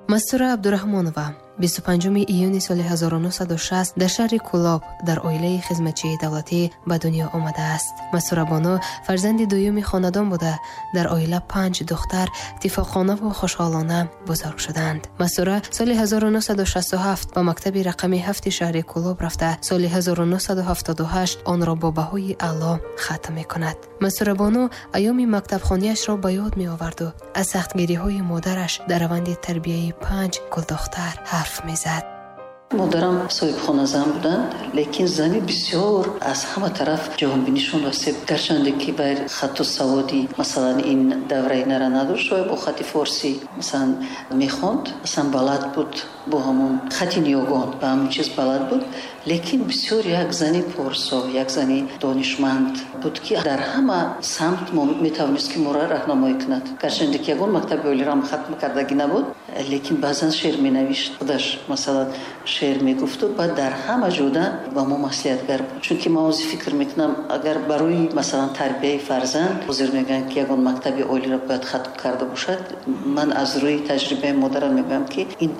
Мастура Абдураҳмонова 25 июни соли 1960 дар шаҳри Кӯлоб дар оилаи хизматчии давлатӣ ба дунё омадааст. Мастурабону фарзанди дуюми хонадон буда, дар оила панҷ духтар иттифоқонаву хушҳолона бузург шуданд. Мастура соли 1967 ба мактаби рақами ҳафти шаҳри Кӯлоб рафта, соли 1978 онро бо баҳои аъло хатм мекунад. Мастурабону айёми мактабхониашро ба ёд меоварду аз сахтгириҳои модараш дар раванди тарбияи панҷ гулдухтар ҳарф мезад. Модарам соҳибхоназан буданд, лекин зани бисёр аз ҳама тараф ҷаҳонбинишон васеъ. Гарчанде ки вай хатту саводи, масалан, ин давраи нара надошт, вай бо хати форсӣ, масалан, мехонд, масалан, балад буд, бо ҳамон хати ниёгон ба ҳамон чиз балад буд, лекин бисёр як зани порсо, як зани донишманд буд, ки дар ҳама самт метавонист, ки моро раҳнамоӣ кунад. Гарчанде ки ягон мактаби олиро хатм кардагӣ набуд, лекин баъзан шеър менавишт худаш, масалан, шеър мегуфту баъд дар ҳама ҷода ба мо маслиҳатгар буд. Чунки ман ҳозир фикр мекунам, агар барои, масалан, тарбияи фарзанд ҳозир мегӯянд, ки ягон мактаби олиро бояд хатм карда бошад, ман аз рӯи таҷрибаи модарам мегӯям, ки ин